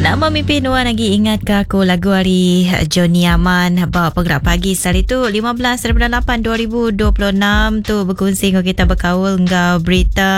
Nama mimpi nuan agi ingat ke aku lagu ari Johnny Aman ba Penggerak Pagi sehari tu 15 8 2026 tu bekunsi enggau kita bekaul enggau berita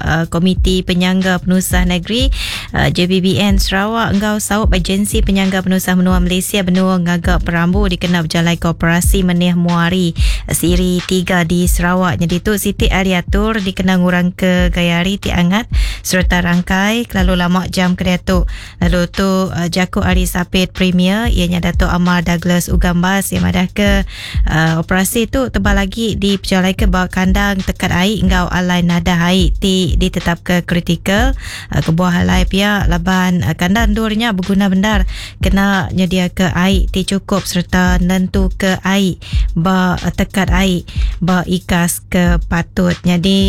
uh, Komiti Penyangga Penusah Negeri uh, JPBN Sarawak enggau Saup Agensi Penyangga Penusah Menua Malaysia benua ngaga perambu dikena bejalai koperasi menih muari siri 3 di Sarawak. Jadi tu siti ari atur dikena ngurang ke gaya hari ti angat sereta rangkai kelalu lama jam ke diatu. Lalu tu uh, jaku ari sapit Premier iya nya Datuk Amar Douglas Ugambas yang madah ke uh, operasi tu tebal lagi dipejalaika ba kandang tekat ai enggau alai nadah ai ti ditetapka kritikal. Uh, kebuah alai pia laban uh, kandang endur nya beguna bendar kena nyediaka ai ti chukup sereta nentuka ai ba tekat ai ba ikas ke patut. Nyadi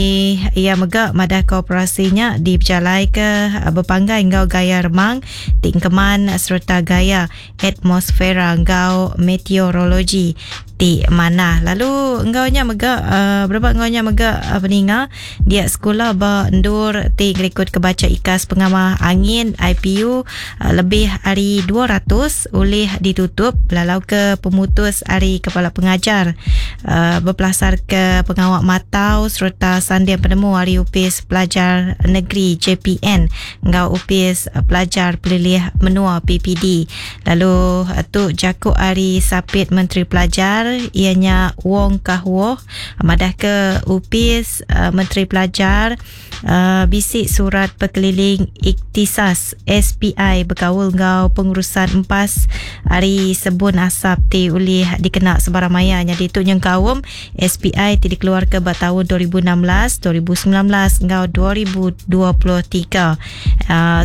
iya mega madahka operasi nya dipejalaika bepanggai enggau gaya remang ti engkeman sereta gaya atmosfera enggau meteorologi ti manah. Lalu enggau nya mega berebak enggau nya mega peninga dia sekula ba endur ti ngerikutka bacha ikas pengamah angin IPU lebih ari 200 ulih ditutup belalauka pemutus ari Kepala Pengajar bepelasarka pengawa matau sereta sanding penemu ari Opis Pelajar Negeri, JPN, enggau Opis Pelajar Pelilih Menua, PPD. Lalu tu jaku ari Sapit Menteri Pelajar iya nya Wong Kah Woh madahka Opis Menteri Pelajar bisi surat pekeliling Iktisas, SPI, bekaul enggau pengurusan empas ari sebun asap ti ulih dikena sebarang maya nyadi tu nyengkaum SPI ti dikeluarka ba taun 2016, 2019 enggau 2023.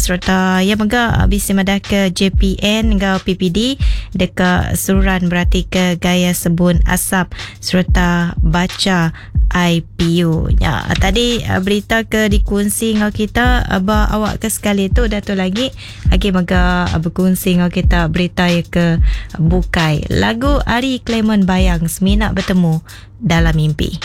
Sereta iya mega bisi madahka JPN enggau PPD deka seruran beratika gaya sebun asap sereta bacha IPU. Nya tadi berita ke dikunsi enggau kita ba awak ke sekali tu dah tu lagi agi mega bekunsi enggau kita berita iya ke bukai. Lagu ari Clement Bayang semina betemu dalam mimpi.